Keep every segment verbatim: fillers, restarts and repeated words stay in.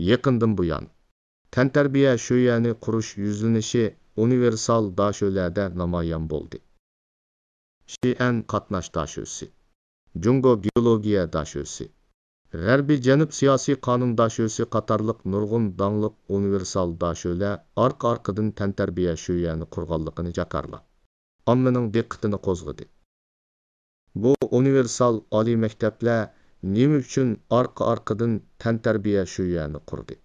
يېقىندىن بۇيان، تەنتەربىيە شۆيۈەنى قۇرۇش يۈزلىنىشى ئۇنىۋېرسال داشۆلەردە نامايان بولدى. شىئەن قاتناش داشۆسى، جۇڭگو گېئولوگىيە داشۆسى، غەربىي جەنۇب سىياسىي قانۇن داشۆسى قاتارلىق نۇرغۇن داڭلىق ئۇنىۋېرسال داشۆلەر ئارقا-ئارقىدىن تەنتەربىيە شۆيۈەنى قۇرغانلىقىنى جاكارلاپ، ئاممىنىڭ دىققىتىنى قوزغىدى. بۇ ئۇنىۋېرسال ئالىي مەكتەپلەر نېمە ئۈچۈن ئارقا-ئارقىدىن تەنتەربىيە شۆيۈەنى قۇردى؟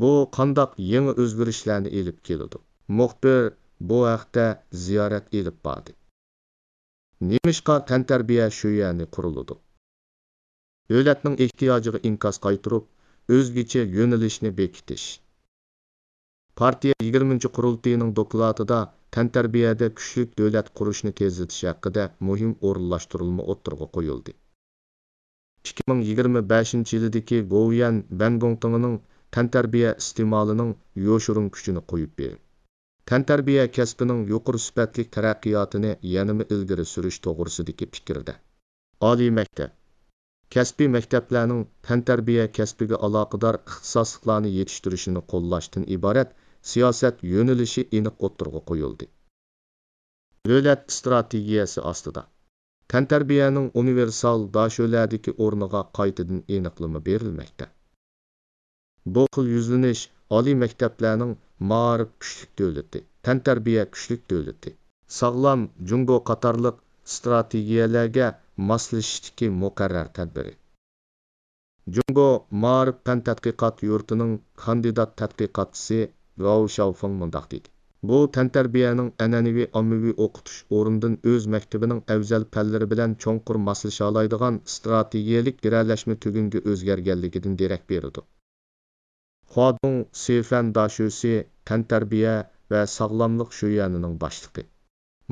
بۇ قانداق يېڭى ئۆزگىرىشلەرنى ئېلىپ كېلىدۇ؟ مۇخبىر بۇ ھەقتە زىيارەت ئېلىپ باردى. نېمىشقا تەنتەربىيە شۆيۈەنى قۇرۇلىدۇ؟ دۆلەتنىڭ ئېھتىياجىغا ئىنكاس قايتۇرۇپ، ئۆزگىچە يۆنىلىشنى بېكىتىش. پارتىيە يىگىرمىنچى قۇرۇلتىيىنىڭ دوكلاتىدا تەنتەربىيەدە كۈچلۈك دۆلەت قۇرۇشنى تېزلىتىش ھەققىدە مۇھىم ئورۇنلاشتۇرۇلما ئوتتۇرىغا قويۇلدى. ئىككى مىڭ يىگىرمە بەشىنچى يىلىدىكى گوۋۇيۈەن بەنگوڭتىڭىنىڭ تەنتەربىيە ئىستېمالىنىڭ يوشۇرۇن كۈچىنى قويۇپ بېرىپ، تەنتەربىيە كەسپىنىڭ يۇقىرى سۈپەتلىك تەرەققىياتىنى يەنىمۇ ئىلگىرى سۈرۈش توغرىسىدىكى پىكىردە، ئالىي مەكتەپ، كەسپىي مەكتەپلەرنىڭ تەنتەربىيە كەسپىگە ئالاقىدار ئىختىساسلىقلارنى يېتىشتۈرۈشىنى قوللاشتىن ئىبارەت سىياسەت يۆنىلىشى ئېنىق ئوتتۇرىغا قويۇلدى. دۆلەت ئىستراتېگىيەسى ئاستىدا، تەنتەربىيەنىڭ ئۇنىۋېرسال داشۆلەردىكى ئورنىغا قايتىدىن ئېنىقلىما بېرىلمەكتە. بۇ خىل يۈزلىنىش ئالىي مەكتەپلەرنىڭ مائارىپ كۈچلۈك دۆلىتى، تەنتەربىيە كۈچلۈك دۆلىتى، ساغلام جۇڭگو قاتارلىق ئىستراتېگىيەلەرگە ماسلىشىشتىكى مۇقەررەر تەدبىرى. جۇڭگو مائارىپ پەن تەتقىقات يۇرتىنىڭ كاندىدات تەتقىقاتچىسى ۋاۋ شياۋفېڭ مۇنداق دېدى: بۇ تەنتەربىيەنىڭ ئەنئەنىۋى ئاممىۋى ئوقۇتۇش ئورنىدىن ئۆز مەكتىپىنىڭ ئەۋزەل پەنلىرى بىلەن چوڭقۇر ماسلىشالايدىغان ئىستراتېگىيەلىك گىرەلەشمە تۈگۈنگە ئۆزگەرگەنلىكىدىن دېرەك بېرىدۇ. خۇادۇڭ سىفەن داشۆسى، تەنتەربىيە ۋە ساغلاملىق شۆيۈەنىنىڭ باشلىقى،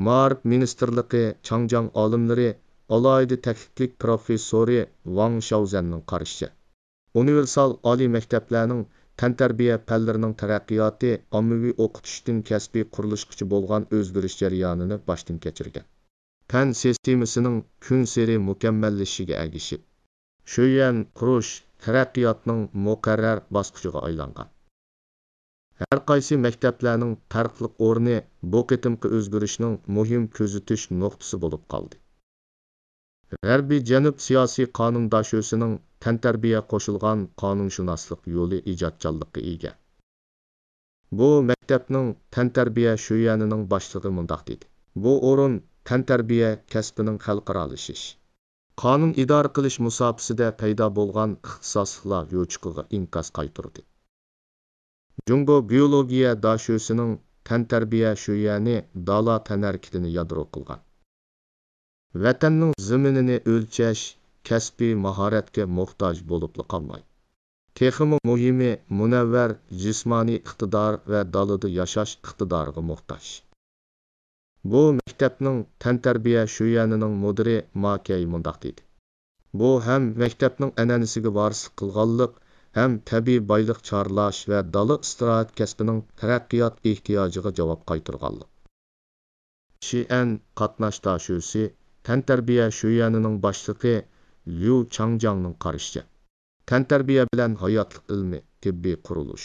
مائارىپ مىنىستىرلىقى چاڭجياڭ ئالىملىرى، ئالاھىدە تەكلىپلىك پىروفېسسورى ۋاڭ شياۋزەننىڭ قارىشىچە، ئۇنىۋېرسال ئالىي مەكتەپلەرنىڭ تەنتەربىيە پەنلىرىنىڭ تەرەققىياتى ئاممىۋى ئوقۇتۇشتىن كەسپىي قۇرۇلۇشقىچە بولغان ئۆزگىرىش جەريانىنى باشتىن كەچۈرگەن. پەن سىستېمىسىنىڭ كۈنسېرى مۇكەممەللىشىشىگە ئەگىشىپ، شۆيۈەن قۇرۇش تەرەققىياتنىڭ مۇقەررەر باسقۇچىغا ئايلانغان. ھەر قايسى مەكتەپلەرنىڭ پەرقلىق ئورنى بۇ قېتىمقى ئۆزگىرىشنىڭ مۇھىم كۆزىتىش نۇقتىسى بولۇپ قالدى. غەربىي جەنۇب سىياسىي قانۇن داشۆسىنىڭ تەنتەربىيە قوشۇلغان قانۇنشۇناسلىق يولى ئىجادچانلىققا ئىگە. بۇ مەكتەپنىڭ تەنتەربىيە شۆيۈەنىنىڭ باشلىقى مۇنداق دېدى: بۇ ئورۇن تەنتەربىيە كەسپىنىڭ خەلقئارالىشىش، قانۇن ئىدارە قىلىش مۇساپىسىدە پەيدا بولغان ئىختىساسلىقلار يوچۇقىغا ئىنكاس قايتۇردى. جۇڭگو گېئولوگىيە داشۆسىنىڭ تەنتەربىيە شۆيۈەنى دالا تەنھەرىكىتىنى يادرو قىلغان، ۋەتەننىڭ زېمىنىنى ئۆلچەش، كەسپىي ماھارەتكە موھتاج بولۇپلا قالماي، تېخىمۇ مۇھىمى، مۇنەۋۋەر جىسمانىي ئىقتىدار ۋە دالىدا ياشاش ئىقتىدارىغا موھتاج. بۇ مەكتەپنىڭ تەنتەربىيە شۆيۈەنىنىڭ مۇدىرى ما كەي مۇنداق دېدى: بۇ ھەم مەكتەپنىڭ ئەنئەنىسىگە ۋارىسلىق قىلغانلىق، ھەم تەبىئىي بايلىق چارلاش ۋە دالا ئىستىراھەت كەسپىنىڭ تەرەققىيات ئېھتىياجىغا جاۋاب قايتۇرغانلىق. شىئەن قاتناش داشۆسى، تەنتەربىيە شۆيۈەنىنىڭ باشلىقى ليۇ چاڭجياڭنىڭ قارىشىچە، تەنتەربىيە بىلەن ھاياتلىق ئىلمى، تېببىي قۇرۇلۇش،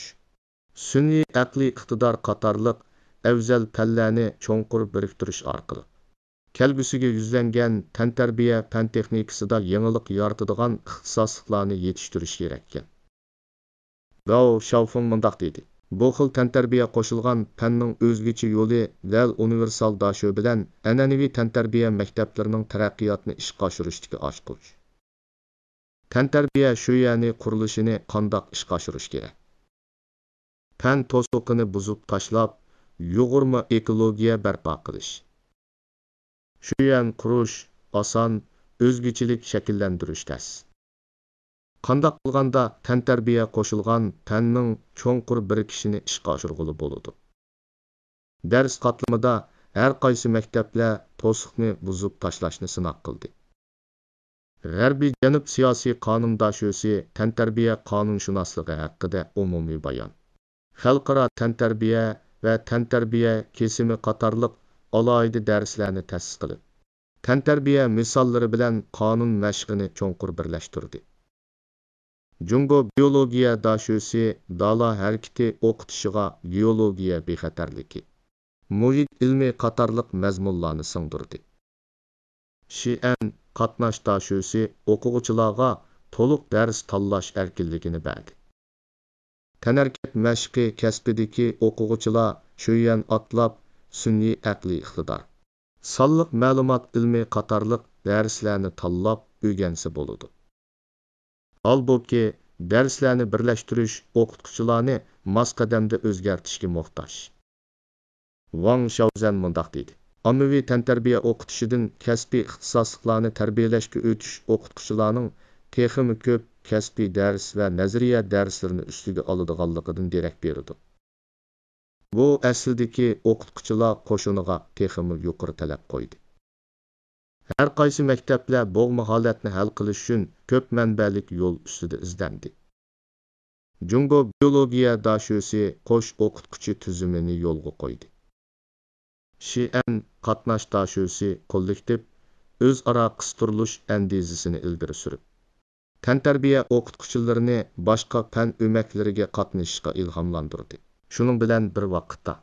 سۈنئىي ئەقلىي ئىقتىدار قاتارلىق ئەۋزەل پەنلەرنى چوڭقۇر بىرىكتۈرۈش ئارقىلىق، كەلگۈسىگە يۈزلەنگەن تەنتەربىيە پەن تېخنىكىسىدا يېڭىلىق يارىتىدىغان ئىختىساسلىقلارنى يېتىشتۈرۈش كېرەككەن. گاۋ شياۋفېڭ مۇنداق دېدى: بۇ خىل تەنتەربىيە قوشۇلغان پەننىڭ ئۆزگىچە يولى دەل ئۇنىۋېرسال داشۆ بىلەن ئەنئەنىۋى تەنتەربىيە مەكتەپلىرىنىڭ تەرەققىياتىنى ئىشقا ئاشۇرۇشتىكى ئاچقۇچ. تەنتەربىيە شۆيۈەنى قۇرۇلۇشىنى قانداق ئىشقا ئاشۇرۇش كېرەك؟ پەن توسۇقىنى بۇزۇپ تاشلاپ، يۇغۇرما ئېكولوگىيە بەرپا قىلىش. شۆيۈەن قۇرۇش ئاسان، ئۆزگىچىلىك شەكىللەندۈرۈش تەس. قانداق قىلغاندا تەنتەربىيە قوشۇلغان پەننىڭ چوڭقۇر بىرىكىشىنى ئىشقا ئاشۇرغىلى بولىدۇ؟ دەرس قاتلىمىدا ھەر قايسى مەكتەپلەر توسۇقنى بۇزۇپ تاشلاشنى سىناق قىلدى. غەربىي جەنۇب سىياسىي قانۇن داشۆسى تەنتەربىيە قانۇنشۇناسلىقى ھەققىدە ئومۇمىي بايان، خەلقئارا تەنتەربىيە ۋە تەنتەربىيە كېسىمى قاتارلىق ئالاھىدە دەرسلەرنى تەسىس قىلىپ، تەنتەربىيە مىساللىرى بىلەن قانۇن مەشقىنى چوڭقۇر بىرلەشتۈردى. جۇڭگو بىيولوگىيە داشۆسى دالا ھەرىكىتى ئوقۇتۇشىغا گېئولوگىيە بىخەتەرلىكى، مۇھىت ئىلمى قاتارلىق مەزمۇنلارنى سىڭدۈردى. شىئەن قاتناش داشۆسى ئوقۇغۇچىلارغا تولۇق دەرس تاللاش ئەركىنلىكىنى بەردى. تەنھەرىكەت مەشقى كەسپىدىكى ئوقۇغۇچىلار شۆيۈەن ئاتلاپ، سۈنئىي ئەقلىي ئىقتىدار، سانلىق مەلۇمات ئىلمى قاتارلىق دەرسلەرنى تاللاپ ئۆگەنسە بولىدۇ. ھالبۇكى، دەرسلەرنى بىرلەشتۈرۈش ئوقۇتقۇچىلارنى ماس قەدەمدە ئۆزگەرتىشكە موھتاج. ۋاڭ شياۋزەن مۇنداق دېدى: ئاممىۋى تەنتەربىيە ئوقۇتۇشىدىن كەسپىي ئىختىساسلىقلارنى تەربىيەلەشكە ئۆتۈش ئوقۇتقۇچىلارنىڭ تېخىمۇ كۆپ كەسپىي دەرس ۋە نەزەرىيە دەرسلىرىنى ئۈستىگە ئالىدىغانلىقىدىن دېرەك بېرىدۇ. بۇ ئەسلىدىكى ئوقۇتقۇچىلار قوشۇنىغا تېخىمۇ يۇقىرى تەلەپ قويدى. ھەر قايسى مەكتەپلەر بوغما ھالەتنى ھەل قىلىش ئۈچۈن كۆپ مەنبەلىك يول ئۈستىدە ئىزدەندى. جۇڭگو بىيولوگىيە داشۆسى قوش ئوقۇتقۇچى تۈزۈمىنى يولغا قويدى. شىئەن قاتناش داشۆسى كوللېكتىپ ئۆزئارا قىستۇرۇلۇش ئەندىزىسىنى ئىلگىرى سۈرۈپ، تەنتەربىيە ئوقۇتقۇچىلىرىنى باشقا پەن ئۆمەكلىرىگە قاتنىشىشقا ئىلھاملاندۇردى. شۇنىڭ بىلەن بىر ۋاقىتتا،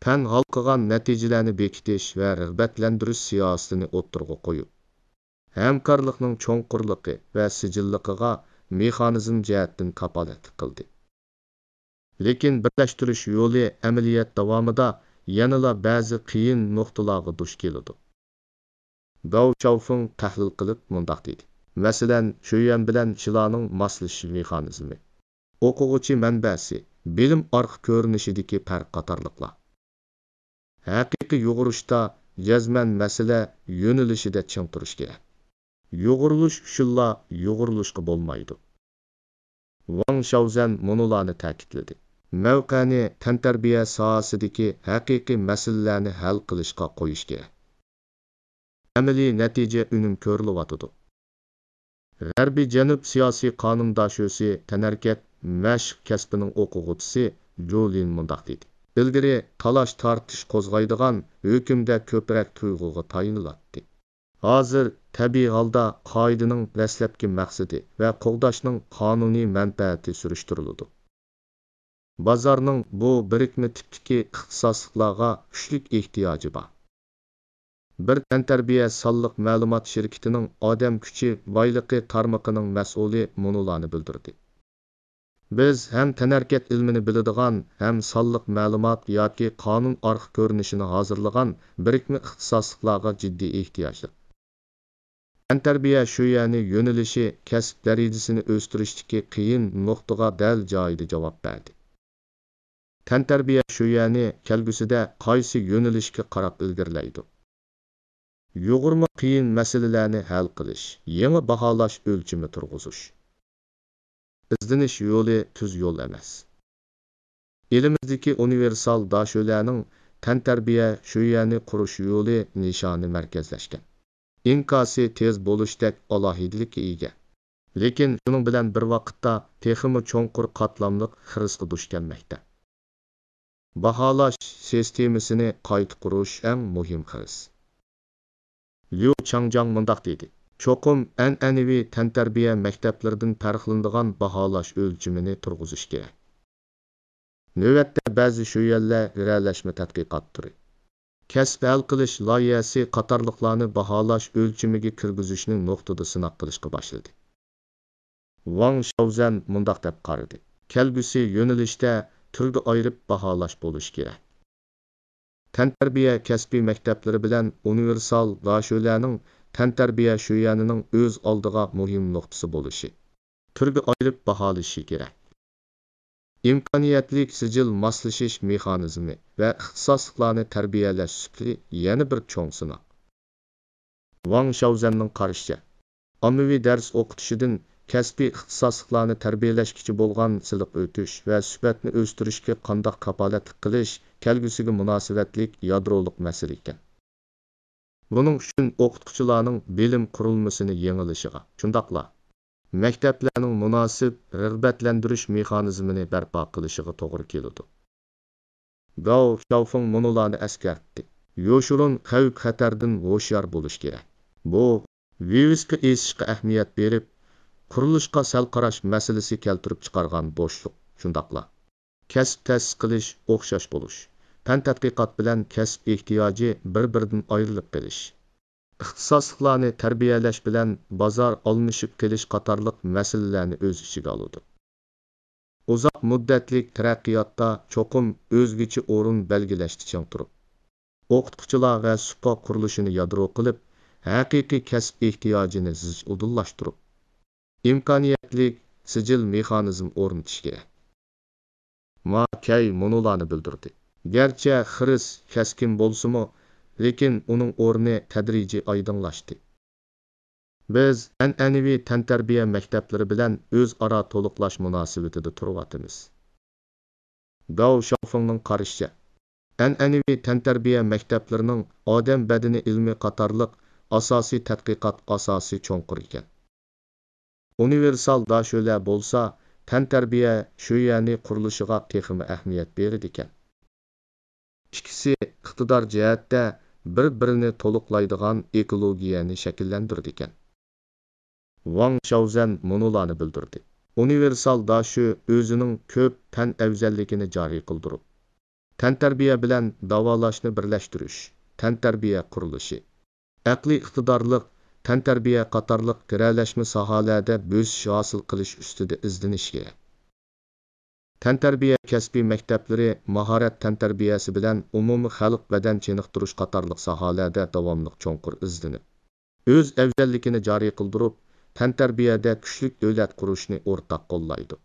پەن ھالقىغان نەتىجىلەرنى بېكىتىش ۋە رىغبەتلەندۈرۈش سىياسىتىنى ئوتتۇرىغا قويۇپ، ھەمكارلىقنىڭ چوڭقۇرلۇقى ۋە سىجىللىقىغا مېخانىزم جەھەتتىن كاپالەتلىك قىلدى. لېكىن بىرلەشتۈرۈش يولى ئەمەلىيەت داۋامىدا يەنىلا بەزى قىيىن نۇقتىلارغا دۇچ كېلىدۇ. گاۋ شياۋفېڭ تەھلىل قىلىپ مۇنداق دېدى: مەسىلەن، شۆيۈەن بىلەن شىلانىڭ ماسلىشىش مېخانىزمى، ئوقۇغۇچى مەنبەسى، بىلىم ئارقا كۆرۈنۈشىدىكى پەرق قاتارلىقلار. ھەقىقىي يۇغۇرۇشتا جەزمەن مەسىلە يۆنىلىشىدە چىڭ تۇرۇش كېرەك. يۇغۇرۇلۇش ئۈچۈنلا يۇغۇرۇلۇشقا بولمايدۇ. ۋاڭ شياۋزەن مۇنۇلارنى تەكىتلىدى: مەۋقەنى تەنتەربىيە ساھەسىدىكى ھەقىقىي مەسىلىلەرنى ھەل قىلىشقا قويۇش كېرەك. ئەمەلىي نەتىجە ئۈنۈم كۆرۈلۈۋاتىدۇ. غەربىي جەنۇب سىياسىي قانۇن داشۆسى تەنھەرىكەت مەشىق كەسپىنىڭ ئوقۇغۇچىسى جۇ لىن مۇنداق دېدى: ئىلگىرى تالاش-تارتىش قوزغايدىغان ھۆكۈمدە كۆپرەك تۇيغۇغا تايىنىلاتتى. ھازىر تەبىئىي ھالدا قائىدىنىڭ دەسلەپكى مەقسىتى ۋە قوغداشنىڭ قانۇنىي مەنپەئەتى سۈرۈشتۈرۈلىدۇ. بازارنىڭ بۇ بىرىكمە تىپتىكى ئىختىساسلىقلارغا كۈچلۈك ئېھتىياجى بار. بىر تەنتەربىيە سانلىق مەلۇمات شىركىتىنىڭ ئادەم كۈچى بايلىقى تارمىقىنىڭ مەسئۇلى مۇنۇلارنى بىلدۈردى: بىز ھەم تەنھەرىكەت ئىلمىنى بىلىدىغان، ھەم سانلىق مەلۇمات ياكى قانۇن ئارقا كۆرۈنۈشىنى ھازىرلىغان بىرىكمە ئىختىساسلىقلارغا جىددىي ئېھتىياجلىق. تەنتەربىيە شۆيۈەنى يۆنىلىشى كەسىپ دەرىجىسىنى ئۆستۈرۈشتىكى قىيىن نۇقتىغا دەل جايىدا جاۋاب بەردى. تەنتەربىيە شۆيۈەنى كەلگۈسىدە قايسى يۆنىلىشكە قاراپ ئىلگىرىلەيدۇ؟ يۇغۇرما قىيىن مەسىلىلەرنى ھەل قىلىش، يېڭى باھالاش ئۆلچىمى تۇرغۇزۇش. ئىزدىنىش يولى تۈز يول ئەمەس. ئېلىمىزدىكى ئۇنىۋېرسال داشۆلەرنىڭ تەنتەربىيە شۆيۈەنى قۇرۇش يولى نىشانى مەركەزلەشكەن. ئىنكاسى تېز بولۇشتەك ئالاھىدىلىككە ئىگە. لېكىن شۇنىڭ بىلەن بىر ۋاقىتتا تېخىمۇ چوڭقۇر قاتلاملىق خىرىسقا دۇچ كەلمەكتە. باھالاش سىستېمىسىنى قايتا قۇرۇش ئەڭ مۇھىم خىرىس. ليۇ چاڭجاڭ مۇنداق دېدى: چوقۇم ئەنئەنىۋى تەنتەربىيە مەكتەپلىرىدىن پەرقلىنىدىغان باھالاش ئۆلچىمىنى تۇرغۇزۇش كېرەك. نۆۋەتتە بەزى شۆيۈەنلەر ھۈرەلەشمە تەتقىقات تۈرى، كەسىپ ھەل قىلىش لايىھەسى قاتارلىقلارنى باھالاش ئۆلچىمىگە كىرگۈزۈشنى نۇقتىدا سىناق قىلىشقا باشلىدى. ۋاڭ شياۋزەن مۇنداق دەپ قارىدى: كەلگۈسى يۆنىلىشتە تۈرگە ئايرىپ باھالاش بولۇشى كېرەك. تەنتەربىيە كەسپىي مەكتەپلىرى بىلەن ئۇنىۋېرسال داشۆلەرنىڭ تەنتەربىيە شۆيۈەنىنىڭ ئۆز ئالدىغا مۇھىم نۇقتىسى بولۇشى، تۈرگە ئايرىپ باھالىشى كېرەك. ئىمكانىيەتلىك سىجىل ماسلىشىش مېخانىزمى ۋە ئىختىساسلىقلارنى تەربىيەلەش سۈپىتى يەنە بىر چوڭ سىناق. ۋاڭ شياۋزەننىڭ قارىشىچە، ئاممىۋى دەرس ئوقۇتۇشىدىن كەسپىي ئىختىساسلىقلارنى تەربىيەلەشكىچە بولغان سىلىق ئۆتۈش ۋە سۈپەتنى ئۆستۈرۈشكە قانداق كاپالەتلىك قىلىش كەلگۈسىگە مۇناسىۋەتلىك يادرولۇق مەسىلە ئىكەن. بۇنىڭ ئۈچۈن ئوقۇتقۇچىلارنىڭ بىلىم قۇرۇلمىسىنى يېڭىلىشىغا، شۇنداقلا مەكتەپلەرنىڭ مۇناسىپ رىغبەتلەندۈرۈش مېخانىزمىنى بەرپا قىلىشىغا توغرا كېلىدۇ. گاۋ شياۋفېڭ مۇنۇلارنى ئەسكەرتتى: يوشۇرۇن خەۋپ-خەتەردىن ھوشيار بولۇش كېرەك. بۇ ۋىۋىسكا ئېسىشقا ئەھمىيەت بېرىپ، قۇرۇلۇشقا سەل قاراش مەسىلىسى كەلتۈرۈپ چىقارغان بوشلۇق، شۇنداقلا كەسىپ تەسىس قىلىش، ئوخشاش بولۇش، پەن تەتقىقات بىلەن كەسىپ ئېھتىياجى بىر-بىرىدىن ئايرىلىپ قېلىش، ئىختىساسلىقلارنى تەربىيەلەش بىلەن بازار ئالمىشىپ قېلىش قاتارلىق مەسىلىلەرنى ئۆز ئىچىگە ئالىدۇ. ئۇزاق مۇددەتلىك تەرەققىياتتا چوقۇم ئۆزگىچە ئورۇن بەلگىلەشتە چىڭ تۇرۇپ، ئوقۇتقۇچىلار ۋە سۇپا قۇرۇلۇشىنى يادرو قىلىپ، ھەقىقىي كەسىپ ئېھتىياجىنى زىچ ئۇدۇللاشتۇرۇپ، ئىمكانىيەتلىك سىجىل مېخانىزم ئورنىتىش كېرەك. ما كەي مۇنۇلارنى بىلدۈردى: گەرچە خىرىس كەسكىن بولسىمۇ، لېكىن ئۇنىڭ ئورنى تەدرىجىي ئايدىڭلاشتى. بىز ئەنئەنىۋى تەنتەربىيە مەكتەپلىرى بىلەن ئۆزئارا تولۇقلاش مۇناسىۋىتىدە تۇرۇۋاتىمىز. گاۋ شاۋفېڭنىڭ قارىشىچە، ئەنئەنىۋى تەنتەربىيە مەكتەپلىرىنىڭ ئادەم بەدىنى ئىلمى قاتارلىق ئاساسىي تەتقىقات ئاساسى چوڭقۇر ئىكەن. ئۇنىۋېرسال داشۆلەر بولسا تەنتەربىيە شۆيەنى قۇرۇلۇشىغا تېخىمۇ ئەھمىيەت بېرىدىكەن. ئىككىسى ئىقتىدار جەھەتتە بىر-بىرىنى تولۇقلايدىغان ئېكولوگىيەنى شەكىللەندۈرىدىكەن. ۋاڭ شاۋزەن مۇنۇلارنى بىلدۈردى: ئۇنىۋېرسال داشۆ ئۆزىنىڭ كۆپ پەن ئەۋزەللىكىنى جارى قىلدۇرۇپ، تەنتەربىيە بىلەن داۋالاشنى بىرلەشتۈرۈش، تەنتەربىيە قۇرۇلۇشى، ئەقلىي ئىقتىدارلىق تەنتەربىيە قاتارلىق گىرەلەشمە ساھەلەردە بۆسۈش ھاسىل قىلىش ئۈستىدە ئىزدىنىش كېرەك. تەنتەربىيە كەسپىي مەكتەپلىرى ماھارەت تەنتەربىيەسى بىلەن ئومۇمىي خەلق بەدەن چېنىقتۇرۇش قاتارلىق ساھەلەردە داۋاملىق چوڭقۇر ئىزدىنىپ، ئۆز ئەۋزەللىكىنى جارى قىلدۇرۇپ، تەنتەربىيەدە كۈچلۈك دۆلەت قۇرۇشنى ئورتاق قوللايدۇ.